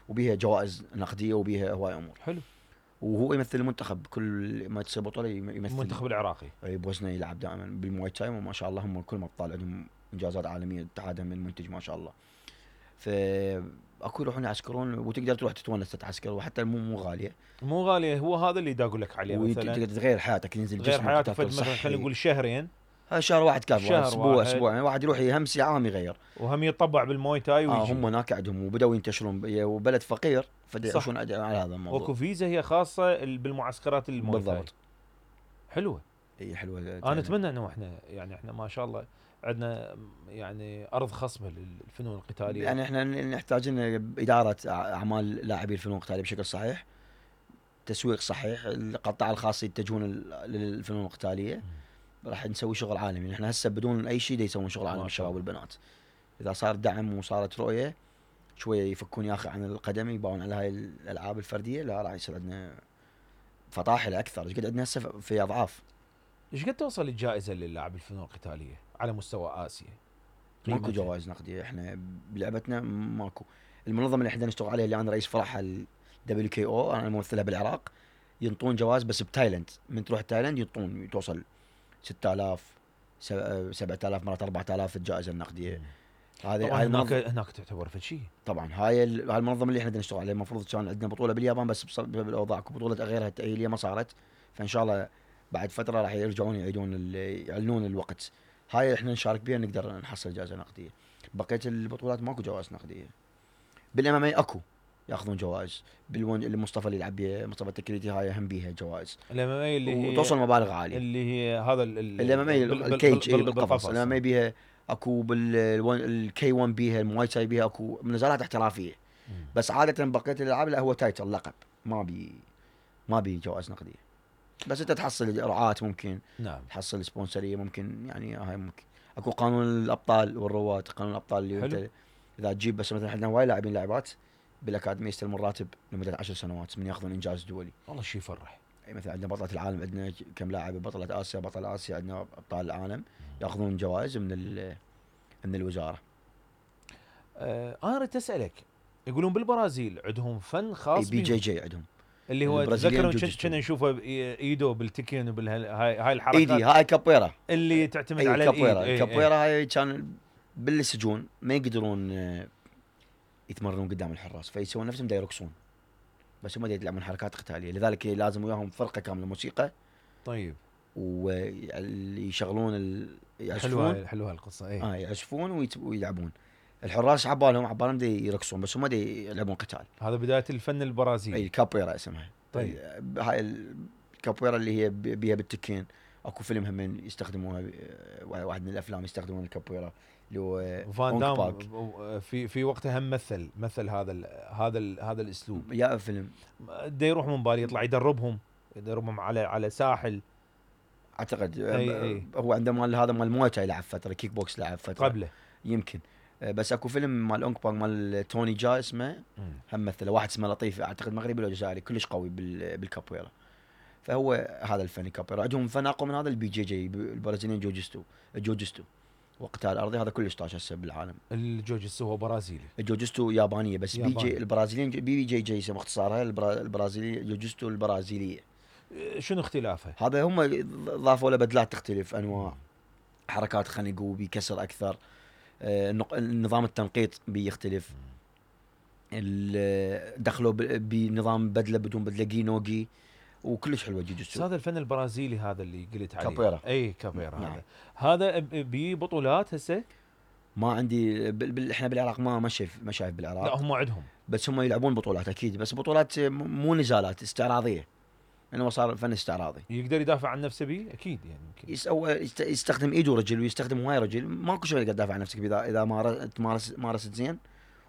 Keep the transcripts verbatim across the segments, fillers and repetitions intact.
وبيها جوائز نقديه وبيها هواي امور. حلو. وهو يمثل المنتخب كل ما تصير بطوله يمثل المنتخب العراقي بوزنه يلعب دائما بالمواي تاي، وما شاء الله هم كل ما ابطال عندهم انجازات عالميه اتحادهم المنتج ما شاء الله. ف اكو يروحون يعسكرون وتقدر تروح تتونس تتعسكر، وحتى مو مو غاليه. مو غاليه، هو هذا اللي دا اقول لك عليه مثلا. وتقدر تغير حياتك، ينزل غير جسمك حياتك مثلا خلينا نقول شهرين. ها شهر واحد كافي، شهر اسبوع واحد. اسبوعين واحد يروح يهمس عام يغير، وهم يطبع بالموي تاي ويجي. اه هم هناك عندهم وبداوا ينتشرون، وبلد فقير فدا يعيشون على هذا الموضوع. وكو فيزا هي خاصه بالمعسكرات الموي تاي. بالضبط. حلوه. اي حلوه. انا اتمنى انه احنا يعني احنا ما شاء الله عندنا يعني ارض خصبه للفنون القتاليه. يعني احنا نحتاج ان اداره اعمال لاعبي الفنون القتاليه بشكل صحيح، تسويق صحيح، القطاع الخاص يتجهون للفنون القتاليه، راح نسوي شغل عالمي. احنا هسه بدون اي شيء يسوون شغل عالمي الشباب والبنات. اذا صار دعم وصارت رؤيه شويه يفكون يا اخي عن القدم، يباون على هاي الالعاب الفرديه، لا راح يصير عندنا فطاحل اكثر. ايش قد عندنا هسه في اضعاف. ايش قد توصل الجائزه للاعب الفنون القتاليه على مستوى اسيا؟ ماكو جوائز نقديه احنا بلعبتنا، ماكو. المنظمه اللي احنا نشتغل عليها اللي انا رئيس فرعها دبليو كي او، انا ممثلها بالعراق، ينطون جوائز بس بتايلند. من تروح تايلند ينطون توصل ستة آلاف سبعة آلاف مرات أربعة آلاف الجائزه النقديه. هذه هاي هناك هناك تعتبر في شيء. طبعا هاي هاي المنظمه اللي احنا بدنا نشتغل عليها. المفروض كان عندنا بطوله باليابان بس بسبب الاوضاع بطوله غيرها التاهيليه ما صارت، فان شاء الله بعد فتره راح يرجعون يعيدون يعلنون الوقت. هاي احنا نشارك بها نقدر نحصل جائزه نقديه. بقيه البطولات ماكو جوائز نقديه. بالام ام اي اكو ياخذون جوائز، بالون المصطفى اللي يلعب بها مصطفى التكريتي هاي هم بيها جوائز الام ام اي اللي هي وتوصل مبالغ عاليه. اللي هي هذا الام ام اي الكيج بالقفص. الام ام اي بيها اكو بالكي واحد بيها المواي تاي بيها اكو نزالات احترافيه. مم. بس عاده بقيه الالعاب لا هو تايتل لقب، ما بي ما بي جوائز نقديه. بس انت تحصل رعاة ممكن. نعم. تحصل سبونسريه ممكن، يعني هاي ممكن. اكو قانون الابطال والرواد، قانون الابطال اللي انت اذا تجيب بس مثلا عندنا هواي لاعبين لاعبات بالاكاديميه يستلمون راتب لمده عشر سنوات من ياخذون انجاز دولي. والله شيء يفرح. اي مثلا عندنا بطله العالم، عندنا كم لاعب بطله اسيا، بطل اسيا، عندنا ابطال العالم ياخذون جوائز من من الوزاره. أه انا اريد اسالك، يقولون بالبرازيل عندهم فن خاص بي جي جي عندهم اللي هو تذكروا كنا نشوفه ايدو بالتكين وبالهاي هاي الحركات. ايدي هاي كابويرا اللي تعتمد على الايد. الكابويرا هاي كان بالسجون ما يقدرون يتمرنون قدام الحراس، فيسوون نفسهم دا يرقصون، بس هم دا يلعبون حركات قتاليه، لذلك لازم وياهم فرقه كامله موسيقى. طيب. ويشغلون ال... يعزفون. حلوه حلوه القصه. اي اه يعزفون ويت... ويلعبون. الحراس عبالهم عبالهم دا يرقصون بس هم دا يلعبون قتال. هذا بدايه الفن البرازيلي. اي كابويرا اسمها. طيب. هاي الكابويرا اللي هي بيها بالتكين. اكو فيلم هم يستخدموها، واحد من الافلام يستخدمون الكابويرا اللي هو فان دام في في وقتها هم مثل مثل هذا ال هذا ال هذا الاسلوب. يا فيلم دا يروح من بالي يطلع يدربهم يدربهم على على ساحل اعتقد. أي أي. هو عنده مال هذا مال مويتا يلعب فتره، كيك بوكس لعب فتره قبله يمكن. بس اكو فيلم مال اونك بانج مال توني جا اسمه م. هم مثله واحد اسمه لطيف اعتقد مغربي ولا جزائري كلش قوي بالكابويرا. فهو هذا الفن الكابويرا. عندهم فن اقوى من هذا البي جي جي البرازيليين جوجستو الجوجستو وقتال ارضي، هذا كلش طاش هسه بالعالم. الجوجستو هو برازيلي. الجوجستو يابانيه بس ياباني. بي جي البرازيليين بي جي جي اسمه اختصارها البرازيلي جوجستو البرازيليه. شنو اختلافه؟ هذا هم ضافوا له بدلات تختلف انواع حركات خنق بكسر اكثر. نظام التنقيط بيختلف. دخلوا بنظام بدله بدون بدله جينوجي وكلش حلوه جوجستو. هذا الفن البرازيلي هذا اللي قلت عليه كابويرا. اي كابويرا. نعم. هذا هذا ببطولات هسه ما عندي بال... احنا بالعراق ما ما شايف ما شايف بالعراق. لا هم عندهم بس هم يلعبون بطولات اكيد، بس بطولات مو نزالات استعراضيه، انه صار فن استعراضي. يقدر يدافع عن نفسه بيه اكيد يعني يمكن يسوي يستخدم ايده رجل ويستخدم هواي رجل. ماكو شيء تقدر تدافع عن نفسك اذا اذا مارس مارست زين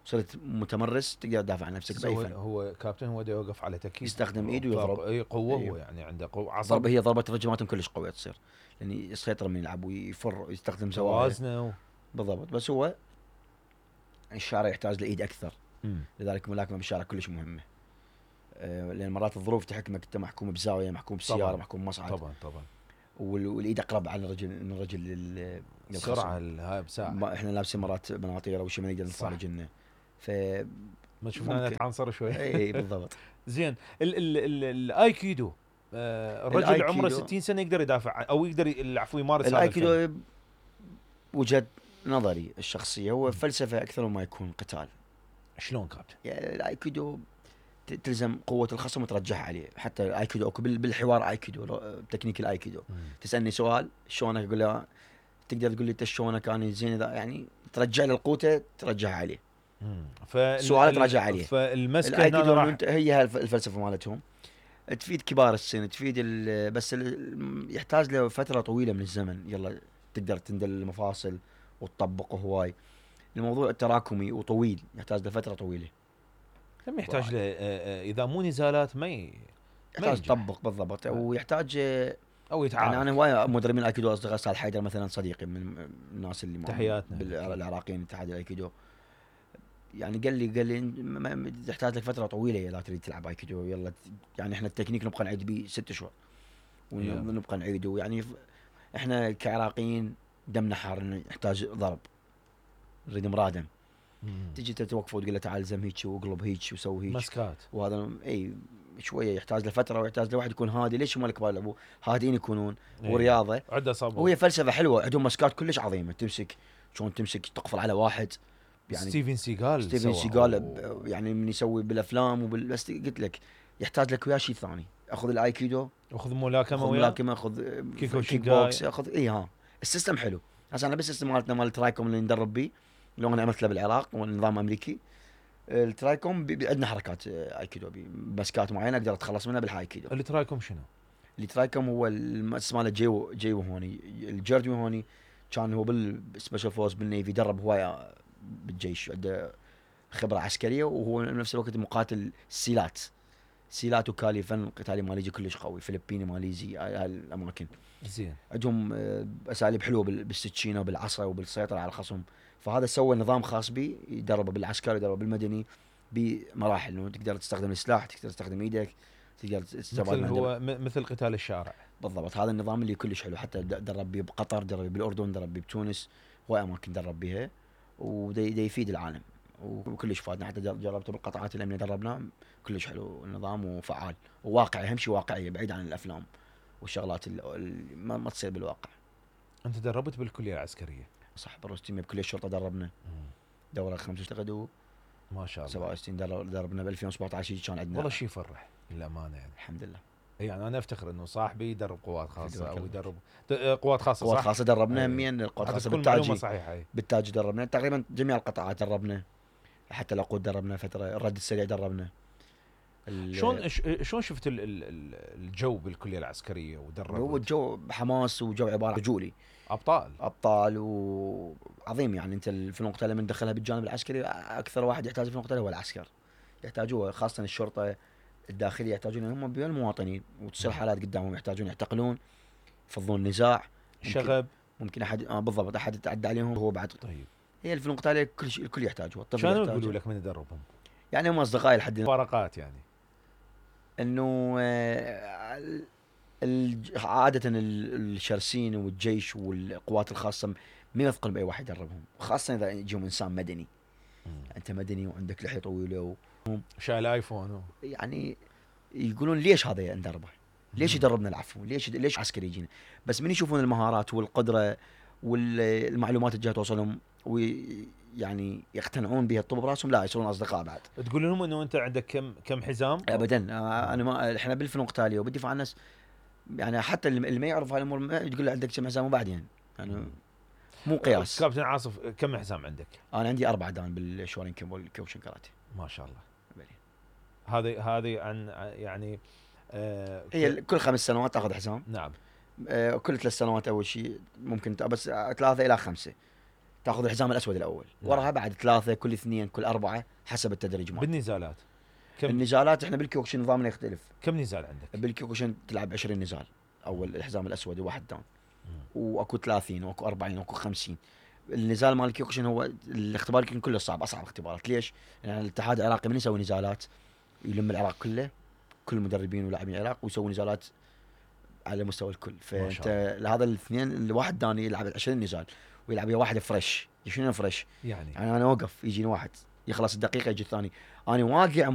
صرت متمرس تقدر تدافع عن نفسك باي فن. هو كابتن هو دا يوقف على تكييف يستخدم ايده ويضرب. اي قوه. أيوه. هو يعني عنده قوه عصب. ضربه هي ضربه رجماتهم كلش قويه تصير، لان يعني يسيطر من يلعب ويفر ويستخدم زوايا وزنه بالضبط. بس هو الشارع يحتاج لايد اكثر. م. لذلك الملاكمه بالشارع كلش مهمه. أه لان مرات الظروف تحكمك، انت محكوم بزاويه، محكوم بسياره، محكوم بمصعد. طبعا طبعا. والايد اقرب على الرجل من الرجل لل السرعه هاي بساعه. احنا لابسين مرات بناطيره وشي ما نقدر نطلع رجلنا. ف ما شفنا نتعنصر شوي. اي بالضبط. زين الايكيدو آه الرجل اللي عمره ستين سنه يقدر يدافع او يقدر العفو يمارس هذا الايكيدو وجهة نظري الشخصيه هو فلسفه اكثر ما يكون قتال. شلون كابتن؟ يعني الايكيدو تلزم قوه الخصم وترجعها عليه. حتى الايكيدو اكو بالحوار ايكيدو تكنيك الايكيدو. مم. تسالني سؤال شلونك اقول له تقدر تقول لي انت شلونك انا زين اذا يعني ترجع له القوته ترجعها عليه. سؤال ترجع عليه. فالمسكه هنا راح هي الفلسفه مالتهم تفيد كبار السن تفيد بس يحتاج له فتره طويله من الزمن. يلا تقدر تندل المفاصل وتطبق هواي. الموضوع التراكمي وطويل يحتاج له فتره طويله. لم يحتاج له اذا مو نزالات ما يحتاج تطبق بالضبط ويحتاج او يتعارك. يعني انا هواي مدربين الايكيدو اصدقاء استاذ حيدر مثلا صديقي من الناس اللي تحياتنا بالعراقيين اتحاد الايكيدو. يعني قال لي قال لي تحتاج لك فتره طويله اذا تريد تلعب ايكيدو. يلا يعني احنا التكنيك نبقى نعيد به ست شهور ونبقى نعيده. يعني احنا كعراقيين دمنا حار نحتاج ضرب نريد مرادم. تجي تتوقف وتقول له تعال زم هيك واقلب هيك وسوي هيك مسكات. وهذا اي شويه يحتاج له فتره ويحتاج له واحد يكون هادي. ليش هم الكبار يلعبوا هادين يكونون إيه. ورياضه عده صبر وهي فلسفه حلوه. عندهم مسكات كلش عظيمه تمسك شلون تمسك تقفل على واحد. يعني ستيفن سيغال ستيفن سيغال يعني من يسوي بالافلام وبال بس قلت لك يحتاج لك وياه شيء ثاني. اخذ الايكيدو اخذ ملاكمه اخذ ملاكمه اخذ كيك بوكس اخذ اي ها السيستم حلو. هسه انا بس السيستم مالتنا مال الترايكوم اللي ندرب به لو انا عملت له بالعراق والنظام امريكي. الترايكوم عندنا حركات ايكيدو بمسكات معينه اقدر اتخلص منها بالهايكيدو. الترايكوم شنو؟ الترايكوم هو اسمه ماله جيو جيو هوني الجيرديو هوني كان هو بالسبيشال فورس بالنيفي درب هوايه بالجيش عنده خبره عسكريه وهو بنفس الوقت مقاتل سيلات سيلات وكالي فن قتالي ماليزي كلش قوي فلبيني ماليزي هاي الاماكن زين. عندهم اساليب حلوه بالسكينه وبالعصا وبالسيطره على الخصم. فهذا سوى نظام خاص به يدربه بالعسكري يدربه بالمدني بمراحل انه تقدر تستخدم السلاح تقدر تستخدم ايدك تقدر تستخدم مثل هو مثل قتال الشارع بالضبط. هذا النظام اللي كلش حلو. حتى درب به بقطر درب به بالاردن درب به بتونس هواي اماكن درب بها ودي يفيد العالم وكلش فادنا. حتى جربته بالقطاعات الامنيه دربنا كلش حلو النظام وفعال وواقعي. اهم شيء واقعيه بعيد عن الافلام والشغلات اللي ما, ما تصير بالواقع. انت دربت بالكليه العسكريه صح بالروستيميه بكليه الشرطه دربنا دوره خمسة وستين ما شاء الله سبعة وستين دربنا ب ألفين وسبعة عشر كان عندنا والله شيء يفرح للامانه يعني الحمد لله. يعني انا افتخر انه صاحبي يدرب قوات خاصه او يدرب قوات خاصه قوات خاصه دربنا همين القوات الخاصه بالتاجي صحيحه بالتاجي دربنا تقريبا جميع القطاعات دربنا. حتى العقود دربنا فتره الرد السريع دربنا. شلون شلون شفت الجو بالكليه العسكريه ودربت؟ هو الجو حماس وجو عباره رجولي ابطال ابطال وعظيم. يعني انت الفنون القتاليه من دخلها بالجانب العسكري اكثر واحد يحتاج الفنون القتاليه هو العسكر. يحتاجوه خاصه الشرطه الداخليه يحتاجون هم بين المواطنين وتصير حالات قدامهم يحتاجون يعتقلون يفضون نزاع شغب ممكن احد آه بالضبط احد يتعدى عليهم هو بعد. طيب هي الفنون القتاليه كل شيء الكل يحتاجها. الطفل شلون يقولوا لك من يدربهم؟ يعني هم اصدقائي لحد فرقات يعني انه عاده الشرسين والجيش والقوات الخاصه ما يثقل باي واحد يدربهم خاصه اذا يجيهم انسان مدني. مم. انت مدني وعندك لحيه طويله و... شايل ايفون هو. يعني يقولون ليش هذا ندربه؟ ليش يدربنا العفو؟ ليش ليش عسكري يجينا؟ بس من يشوفون المهارات والقدره والمعلومات اللي جايه توصلهم ويعني يقتنعون بها الطب براسهم لا يصيرون اصدقاء بعد. تقول لهم انه انت عندك كم كم حزام؟ ابدا انا ما احنا بالفنون القتاليه وبالدفاع عن الناس يعني حتى اللي ما يعرف هالامور تقول له عندك كم حزام وبعدين يعني مو قياس. كابتن عاصف كم حزام عندك؟ انا عندي اربع دان بالشورين كيمو والكيوشن كاراتيه. ما شاء الله. هذه هذه عن يعني آه هي كل خمس سنوات تاخذ حزام. نعم. آه كل ثلاث سنوات اول شيء ممكن بس ثلاثه الى خمسه تاخذ الحزام الاسود الاول. نعم. وراها بعد ثلاثه كل اثنين كل اربعه حسب التدريج مالك. بالنزالات كم النزالات احنا بالكيوكشن نظامنا يختلف. كم نزال عندك؟ بالكيوكشن تلعب عشرين نزال اول الحزام الاسود وواحد دان واكو ثلاثين واكو أربعين واكو خمسين. النزال مال الكيوكشن هو الاختبار يمكن كله صعب اصعب اختبارات. ليش؟ يعني الاتحاد العراقي من يسوي نزالات يلم العراق كله كل المدربين ولاعبين العراق ويسوي نزالات على مستوى الكل. فانت لهذا الاثنين الواحد داني يلعب عشرين نزال ويلعب ويا واحد فريش. شنو فريش؟ يعني يعني انا اوقف يجيني واحد يخلص الدقيقه يجي الثاني. انا واقع